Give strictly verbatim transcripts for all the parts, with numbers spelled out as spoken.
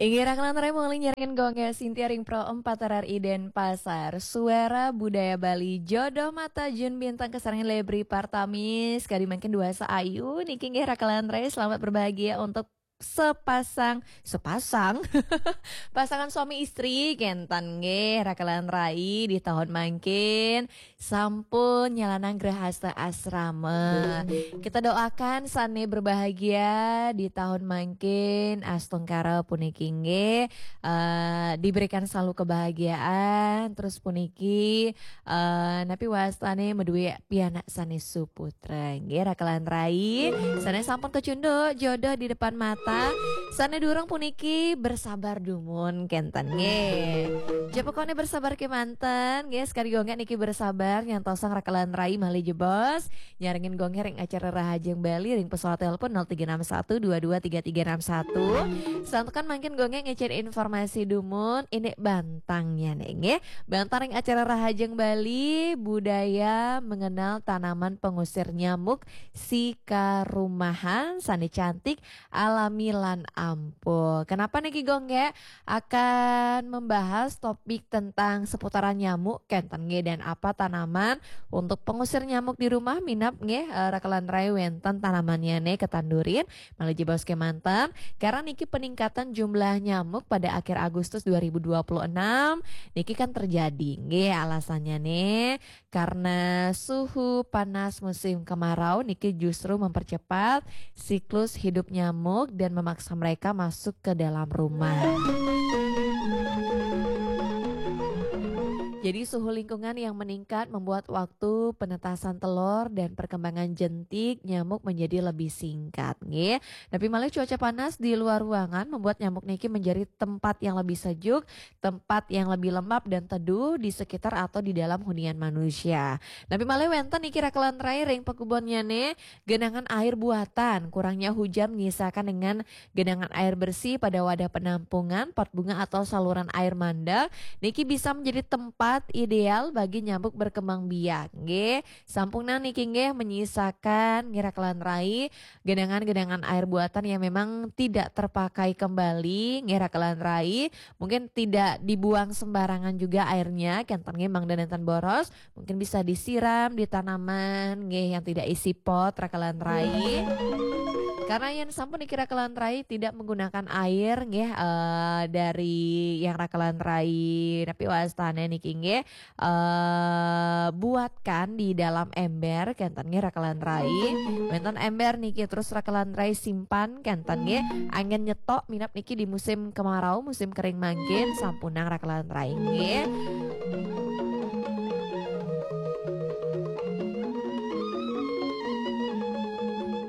Inggih, rakan lantarai mangkin nyarengin Gung Gek Sintia ring Pro empat R R I Denpasar. Suara Budaya Bali, Jodoh Mata Jun Bintang kasarengin Lebri Partamis. Kadi mangkin duasa ayu niki nggih rakan lantarai, selamat berbahagia untuk sepasang, sepasang pasangan suami istri, kénten nggih rakan lantarai, di tahun mangkin sampun nyalanang grahasta asrama. Kita doakan sané berbahagia di tahun mangkin, astungkara puniki nggih, eh, diberikan selalu kebahagiaan, terus puniki, eh, napi wastané madué pianak sané suputra nggih rakan lantarai. Sané sampun kacunduk jodoh di depan mata, sané durung puniki bersabar dumun kénten nggih. Jebos koné bersabar kémanten nggih, sekadi Gung Gek niki bersabar nyantosang rakan lantarai malih jebos nyarengin Gung Gek ring acara Rahajeng Bali ring pesawat telepon nol tiga enam satu dua dua tiga tiga enam satu. Santukan mangkin Gung Gek ngicén informasi dumun, indik bantangnyané nggih. Bantang ring acara Rahajeng Bali, budaya mengenal tanaman pengusir nyamuk sikarumahan sané cantik, alami lan ampuh. Kenapa niki Gung Gek akan membahas topik tentang seputaran nyamuk kénten nggih, dan apa tanaman untuk pengusir nyamuk di rumah? Minab nggih, eh, rakan lantarai wénten tanamannyané katandurin malih jebos kémanten. Karena niki peningkatan jumlah nyamuk pada akhir Agustus dua ribu dua puluh enam niki kan terjadi nggih, alasannyané karena suhu panas musim kemarau niki justru mempercepat siklus hidup nyamuk dan memaksa mereka masuk ke dalam rumah. Jadi suhu lingkungan yang meningkat membuat waktu penetasan telur dan perkembangan jentik nyamuk menjadi lebih singkat nggih. Napi malih cuaca panas di luar ruangan membuat nyamuk niki menjadi tempat yang lebih sejuk, tempat yang lebih lembab dan teduh di sekitar atau di dalam hunian manusia. Napi malih wénten niki rakan lantarai ring pakubonnyané, genangan air buatan, kurangnya hujan menyisakan dengan genangan air bersih pada wadah penampungan, pot bunga atau saluran air mandek, niki bisa menjadi tempat ideal bagi nyamuk berkembang biak nggih. Sampunang niki nggih menyisakan nggih rakan lantarai genangan-genangan air buatan yang memang tidak terpakai kembali nggih rakan lantarai, mungkin tidak dibuang sembarangan juga airnya, kénten nggih mangda nénten boros, mungkin bisa disiram di tanaman nggih yang tidak isi pot rakan lantarai. Karena yén sampun niki rakan lantarai tidak menggunakan air nggih, eh, dari yang rakan lantarai napi wastané niki nggih, eh, buatkan di dalam ember kénten nggih rakan lantarai. Wénten ember niki terus rakan lantarai simpan kénten nggih. Anggén nyetok minab niki di musim kemarau, musim kering mangkin sampunang rakan lantarai nggih.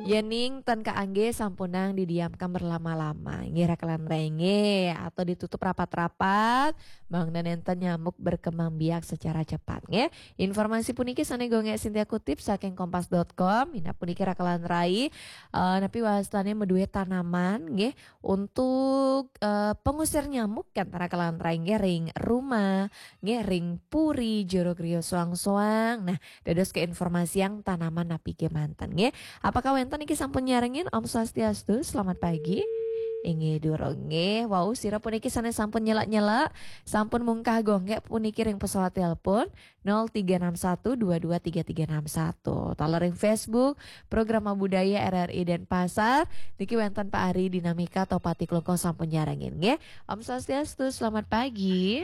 Yéning ten kaanggé sampunang didiamkan berlama-lama nggih rakan lantarai nggih, atau ditutup rapat-rapat, mangda nénten nyamuk berkembang biak secara cepat nggih. Informasi puniki sané Gung Gek Sintia kutip saking kompas dot com. Minab puniki rakan lantarai, eh, napi wastané madué tanaman nggih untuk, eh, pengusir nyamuk kénten rakan lantarai nggih ring rumah, nggih ring puri, jero griya soang-soang. Nah, dados kainformasiang tanaman napi kémanten nggih. Apakah wénten niki sampun nyarengin? Om Swastiastu, selamat pagi. Inggih durung nggih. Wau sira puniki sané sampun nyelak-nyelak, sampun mungkah Gung Gek puniki ring pesawat telepon nol tiga enam satu dua dua tiga tiga enam satu. Taler ring Facebook, Programa Budaya R R I Denpasar, niki wénten Pak Ari Dinamika Topati Klungkung sampun nyarengin nggih. Om Swastiastu, selamat pagi.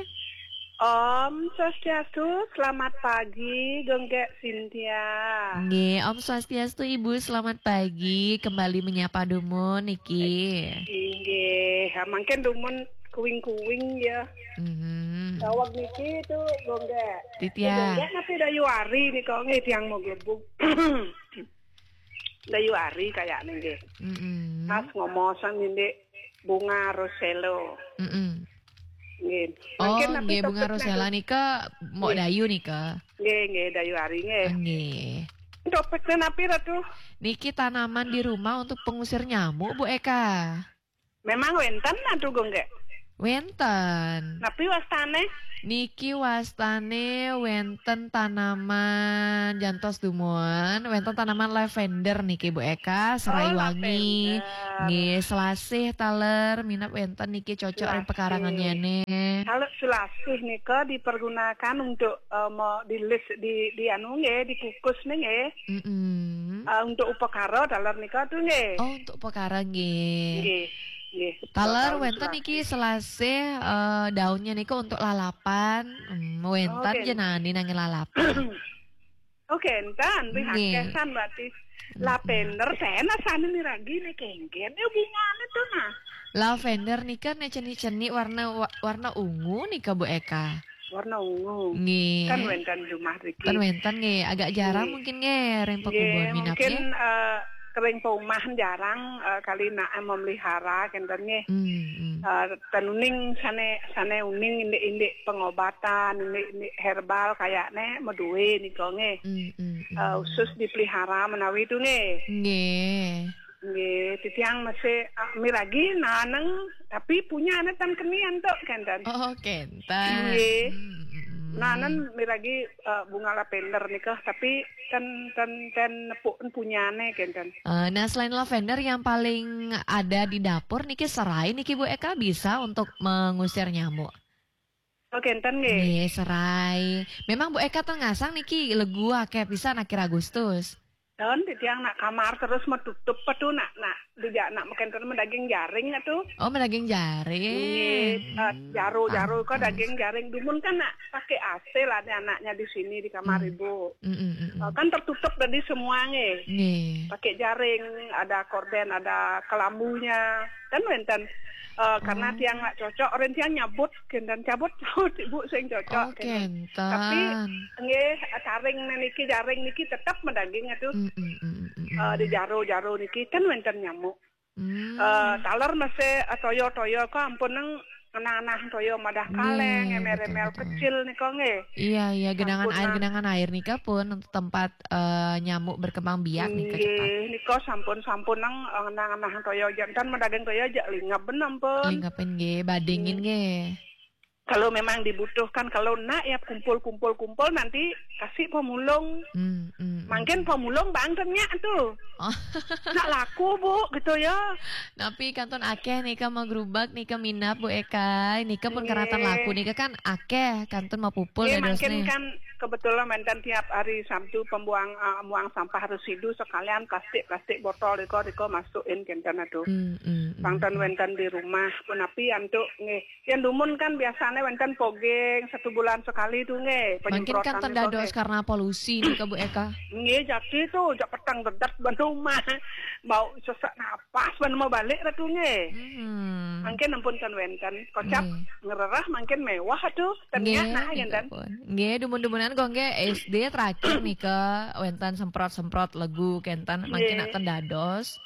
Om Swastiastu, selamat pagi, Gung Gek Sintia. Nggih, Om Swastiastu Ibu, selamat pagi. Kembali menyapa dumun niki. Inggih, ha, mangkin dumun kuing-kuing ya. Mhm. Daweg niki itu, Gung Gek. Titiang. Gung Gek napi dayu ari nika nggih tiang mau glebug. Dayu ari kayaknya nggih. Mm-mm. Pas ngomosang indik bunga rosella. Mm-mm. Nggih. Oh, mangkin napi nggih, bunga topiknya rosella nika mok nggih. Dayu nika. Nggih, nggih, dayu ari nggih. Nggih. Topiknya napi, Ratu? Niki tanaman di rumah untuk pengusir nyamuk, Bu Eka. Memang wénten, Ratu, Gung Gek? Wénten. Napi wastane? Niki wastane wénten tanaman jantos dumun, wénten tanaman lavender niki Bu Eka, serai Oh, wangi. lavender. Nggih, selasih taler minab wénten niki cocok ring Selasih. Pekarangan nyene. Kalau selasih nika dipergunakan untuk eh, mau dilis di di anu nggih, dikukus nih nggih. Mm-mm. Eh, untuk upakara taler nika tuh nggih. Oh, untuk upakara nggih. Nggih. Nggih. Taler Kalau wénten selasih. Niki selasih eh, daunnya niku untuk lalapan. Hmm, wénten Oke. jenani nanging lalapan. Oke, enten wih Nggih. akeh san berarti. Lavender, saya nasane miragi nih kengken. Ya bungane tuh nah. Lavender nika ne cenik-cenik warna wa- warna ungu nika Bu Eka. Warna ungu. Nggih. Kan wénten jumah riki. Kan wénten nggih, agak jarang Nggih. mungkin nggih ring Nggih, pekubun minab mungkin nggih. Eh, kering perumahan jarang eh, kali nak eh, memelihara kenten nggih. Hmm, hmm. Eh, ten uning sane sane uning indik-indik pengobatan, indik-indik herbal kayakne meduwe nika nggih. Hmm, hmm, hmm. Eh, khusus dipelihara menawi itu nggih. Nggih. Nggih, titiang masih ah, miragi naneng tapi punya anak tan kenian tok kenten. Oh, kenten. Nggih. Hmm, hmm, hmm. Nanen miragi eh, bunga lavender nika tapi ten ten ten nepuk punyane kenten. Eh, nah, selain lavender yang paling ada di dapur niki serai niki Bu Eka bisa untuk mengusir nyamuk. Oh, kenten nggih. Nggih, serai. Memang Bu Eka ten ngasang niki legu akeh pisan akhir Agustus. Dan titiang nak kamar terus metutup petu nak nak dijak nak makan terus daging jaring atuh. Oh, daging jaring. Nggih, eh, jaru-jaru kok Pantes. Daging jaring dumun kan nak pakai A C lah ada anaknya di sini di kamar Hmm. ibu. Mm, mm, mm, mm. Eh, kan tertutup tadi semua nggih. Nggih. Pakai jaring, ada korden, ada kelambunya. Kan wenten eh, karena Oh. tiang nak cocok, orang tiang nyabut, kenten cabut cabut ibu sing cocok. Oh, Kenten. kenten. Tapi nggih, taring niki jaring niki tetap medaging atuh. Mm, mm, mm, mm, mm. Eh, di jaru-jaru niki kan wenten nyamuk. Hmm. Eh, taler masih eh, toyo-toyo kok ampun nang ngenah-ngenah toyo madah Nggih, kaleng, emel-emel betul, betul. Kecil nika nggih. Iya, iya, genangan Sampun air, nang- genangan air nika pun tempat eh, nyamuk berkembang biak nika cepat. Nggih, nika sampun-sampun nang eh, ngenah-ngenah toyo jantan medaging toyo aja lingap bener ampun. Lingapin nggih, badingin nggih. Kalau memang dibutuhkan, kalau nak ya kumpul-kumpul-kumpul nanti kasih pemulung. Hmm, hmm, hmm. Mungkin pemulung bang ternyata tuh. Oh. Nak laku bu gitu ya. Napi kantun akeh nika mau gerubak nika minap Bu Eka. Nika pun Nggih. Karatan laku nika kan akeh kantun mau pupul Nggih, dadosne. Mungkin kan kebetulan wenten tiap hari Sabtu pembuang uh, buang sampah residu sekalian plastik-plastik botol riko riko masukin kenten atuh. Hmm, hmm, hmm. Pangten wenten di rumah punapi antuk nggih. Yang dumun kan biasanya wenten pogeng satu bulan sekali tuh nggih. Mungkin kan Penyemprotan tendados nggih. Karena polusi nih ke Bu Eka. Nggih, jadi tuh jak petang dedet ban rumah. Bau sesak napas ban mau balik ratu nggih. Hmm. Mungkin ampun kan wenten. Kocap Nggih. ngererah mungkin mewah tuh. Nggih, Ternyata nah nika ngenten. Pun. Nggih, dumun-dumunan kok nggih S D terakhir nika wenten semprot-semprot legu kenten mungkin Nggih. Nak tendados.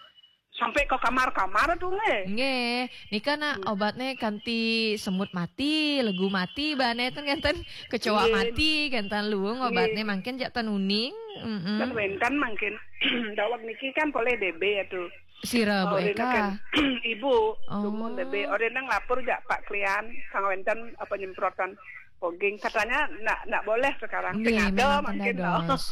Sampai ke kamar-kamar tuh nggih. Nggih, nika nak obatnya kanti semut mati, legu mati, bane ten kenten kecoa Nggih. Mati, kenten luung obatnya Nggih. Mungkin jak tenuning. Mm-mm. Kan wenten mungkin dawak niki kan boleh D B ya tuh. Sira Bu Orena Eka. Kan, ibu, Oh. dumun D B. Orena ngelapor jak Pak Klian, sang wenten apa nyemprotan poging. Katanya nak nak boleh sekarang. Nggih, Sing ada memang mungkin tendados.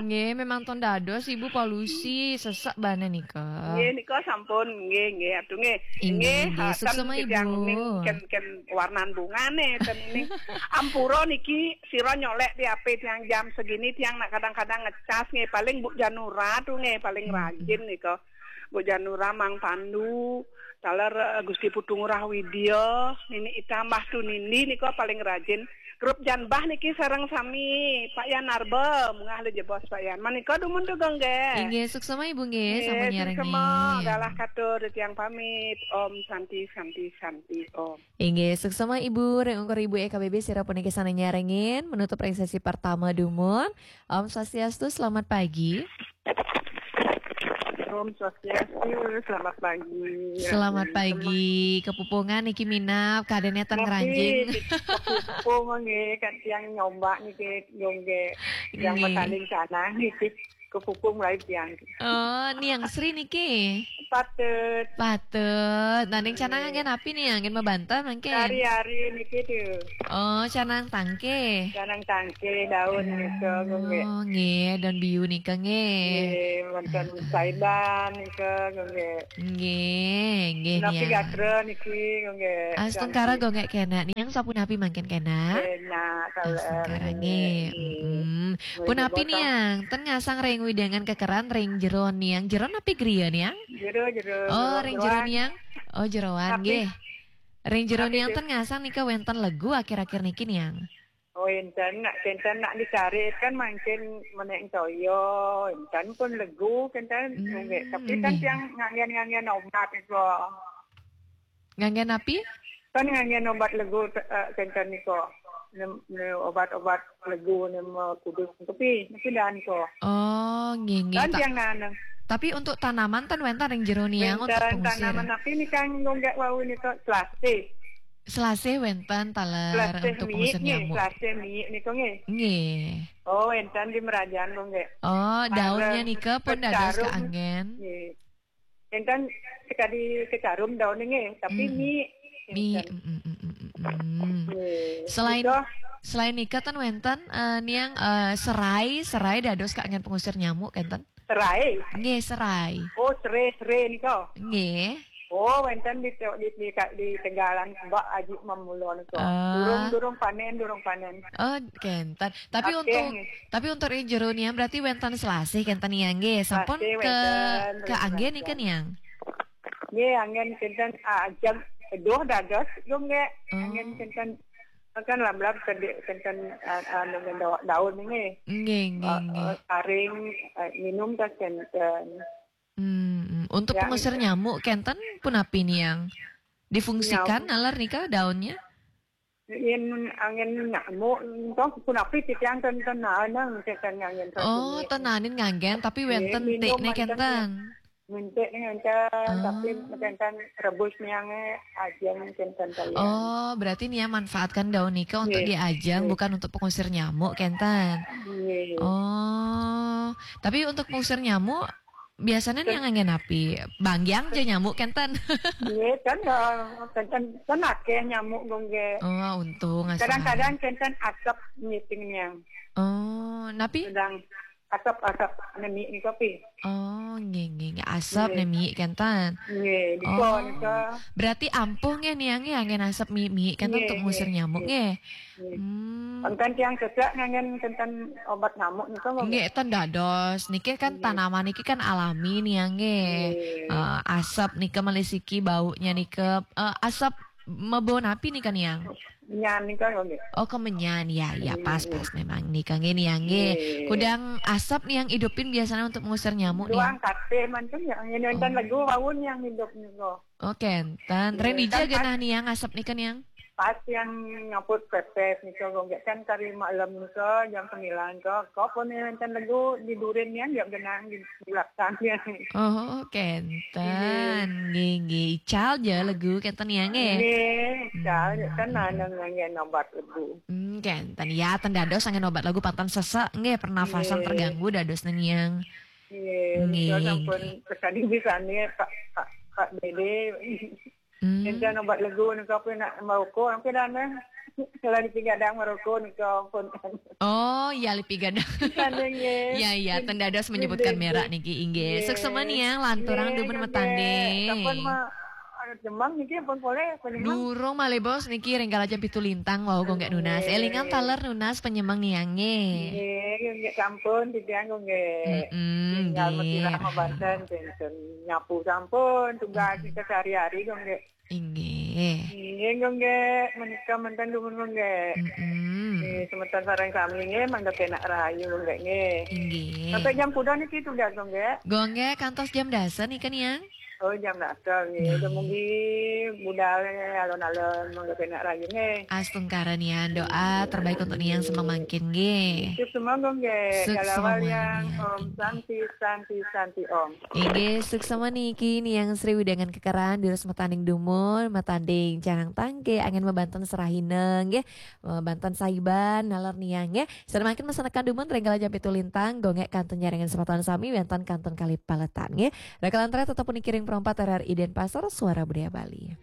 Nggih, memang tendados Ibu polusi sesek bane nika. Nggih, nika sampun. Nggih, nggih, atuh nggih. Inggih, inggih. Hasan Suksema, titiang Ibu. Ning ken ken warnan bungane ten ning. Ampura niki sira nyolek di ape tiang jam segini tiang nak kadang-kadang ngecas nggih paling Bu Janura tuh nggih paling Hmm. rajin nika. Bu Janura Mang Pandu, taler eh, Gusti Putu Ngurah Widya, nini itambah tu nindi nika paling rajin. Grup Janbah niki sareng sami Pak Yan Arba, mungah le jebos Pak Yan. Manika dumun tu gongge. Inggih, suksema Ibu nggih, sama Nggih, nyarengin. suksema. Galah katur tiang pamit. Om Santi Santi Santi Om. Inggih, suksema Ibu, ring ungkur Ibu E K B B sira puniki sane nyarengin, menutup ring sesi pertama dumun. Om Swastiastu, selamat pagi. Om Swastiastu, selamat pagi. Selamat pagi, kepupungan niki minap, keadaannya ten Tapi ngranjing. Kepupung nggih kan tiang nyombak niki nggih yang Nggih. Betaling sana niki. Kepupung lain tiang. Oh, Niang Sri niki. Patut. Patut. Nah, ning canang anggen api nih, anggen mabanten mangkin. Hari-hari niki tuh. Oh, canang tangke. Canang tangke daun nika, nggih. Oh, nggih, daun biu nika nggih. Nggih, wonten saidan nika, nggih. Nggih, nggih, Napi Niang. Gatra niki, nggih. Astungkara gonggek kena, Niang sapunapi mangkin kena. Kena, Astungkara nggih. Mm-mm. Nggih, Punapi botol. Niang, ten ngasang ring wewidangan kekeran ring jero Niang. Jero napi griya Niang? Jero, jero. Oh, ring jero Jeroan. Niang. Oh, jeroan Tapi- nggih. Ring jero tapi Niang di- ten ngasang nika wenten legu akhir-akhir niki Niang. Oh, enten nak, enten nak dicari kan mangkin menek toyo, enten pun legu, enten Hmm, nggih. Tapi kan nggih. Tiang nganggen-nganggen obat itu. Nganggen api? Kan nganggen obat legu, eh, enten niko. Nem, nem obat-obat legu nem, eh, kudus tapi, tapi dan ko. Oh, nggih nggih. Kan Ta- Tiang nanam. Tapi untuk tanaman ten wenten ring jero Niang untuk Enten pengusir. tanaman api ni kan nggih wau niko selasih. Selasih wenten taler Selasih untuk mi pengusir ni, nyamuk. Selasih mi niko nggih. Nggih. Oh, enten di merajaan ko nggih. Oh, daunnya Bareng nika pun dados kecarum. Keanggen. Nggih. Enten sekadi kecarum daun nggih, tapi Hmm. mi. Mi, Enten. mm, mm, mm, mm, mm. Nggih. Selain Nika selain nika ten wenten eh, Niang eh, serai, serai dados Keanggen pengusir nyamuk enten? serai. Nggih, serai. Oh, serai, serai nika. Nggih. Oh, wenten di, di, di, di Tegalan Mbak Aji Mamulon ko. Ah. Durung, durung panen, durung panen. Oh, kenten. Tapi Oke, untuk nggih. tapi untuk ring jero Niang berarti wenten selasih kenten Niang nggih. Sampun Selasih ke wenten, Keanggen wenten. Nika Niang. Nggih, anggen kenten, ah, jam doh dados, nggih. Oh. Anggen kenten kan lablab kedi kenten, ah, ah, dengan daun, daun nggih. Nggih, nggih, Ah, nggih. ah, karing, ah, minum kan kenten. Hmm, hmm. Untuk Ya, pengusir gitu. Nyamuk kenten punapi Niang? Difungsikan Nyamuk. Naler nika daunnya? Yen anggen nyamuk, entong punapi titiang ten, ten naenang kenten nganggen Oh, sasumi. Ten naenin nganggen, tapi Nggih, wenten minum tikne wenten kenten. Mintik ngenten, Ah. tapi kenten rebus niange ajeng kenten kalian. Oh, berarti Niang manfaatkan daun nika untuk Nggih. diajeng, Nggih. Bukan untuk pengusir nyamuk kenten. Nggih. Oh, tapi untuk pengusir nyamuk biasanya Niang nganggen api? Banggiang aja nyamuk kenten. Nggih, kan, eh, kenten, kan akeh nyamuk, nggih. Oh, untung asal. Kadang-kadang kenten asap ngiting niang. Oh, napi? Sedang asap-asap nemi nika pi. Oh, nggih, nggih, nggih. Asap Nggih. Nemi kenten. Nggih, nika Oh. Nika. Berarti ampuh nggih Niang nggih anggen asap Memi kenten Nggih, untuk ngusir nggih, nyamuk nggih. Nggih. Nggih. Hmm. Angkan tiang sesek nganggen kenten obat nyamuk nika, nggih. Nggih, ten dados. Niki kan Nggih. Tanaman niki kan alami Niang nggih. Nggih. Eh, asap nika malih siki baunya nika, eh, asap mebau napi nika Niang? Nyan nika, nggih. Oh, kemenyan. Ya, ya, Nggih, pas, nggih. Pas memang nika nggih Niang nggih. Nggih. Kudang asap Niang idupin biasanya untuk ngusir nyamuk Niang. Doang kate manten ya, ini enten Oh. legu waun yang hidup nika. Oh, kenten. Nggih, Ren dija kan genah Niang asap nika Niang? Pas yang nyaput pepes nika, nggih, kan kari malam nika jam sembilan nika. Kok pun enten legu di durin niang, ya genang di, di belakang ya. Oh, kenten. Nggih, nggih. Ical ja legu kenten Niang nggih. Nggih, ical, Hmm. Kan ada nganggen obat legu. Hmm, kenten. Ya, ten dados anggen obat legu panten sesek nggih, pernafasan Nggih. Terganggu dados Niang. Nggih, Nggih, nika sampun nggih. sekali bisane Pak, Pak, Pak Dede. Hmm. Enten obat legu nika pun nak merokok, ampun dana. Kalau dipigadang merokok nika pun. Oh, ya lipi gadang. Kan nggih. Ya, ya, ten dados menyebutkan Nggih, merek nggih. niki inggih. Nggih. Suksema Niang lanturang Nggih, dumun nggih. metanding. Sampun ma-, anu, Jemang niki pun boleh, apa Jemang? Durung malih bos niki ring kala jam pitu lintang wau gonggek nunas. Nggih. Elingan taler nunas penyemang Niang nggih. Nggih, nggih, sampun titiang nggih. Mm-mm, Tinggal nggih. Mesilah mabanten, enten nyapu sampun, tugas Mm-mm. kita sehari-hari nggih. Inggih. Nggih, nggih, menika manten dumun nggih. Mm-mm. Nggih, semeton sareng sami nggih, mangda penak rahayu nggih, nggih. Inggih. Sampai jam kuda niki tugas nggih. Gonggek kantos jam dasa nika Niang? Oh, jam dasa nggih. Dumugi budal alon-alon mangga kenak rayu nggih. Astungkara Niang, doa terbaik untuk Niang semeng mangkin nggih. Sip semua nggih. Sip Kalau semua yang nggih. Om Santi, Santi, Santi Om. Inggih, suksma niki Niang Sri Widangan Kekeran, durus matanding dumun, matanding canang tangke, angin mabanten serahina nggih, mabanten saiban naler Niang nggih. Sareng mangkin masanekan dumun ring kala jam pitu lintang, gongek kantun nyarengan semeton sami wénten kantun kalih paletan nggih. Rakalan tetep puniki ring Pro empat R R I Denpasar, Suara Budaya Bali.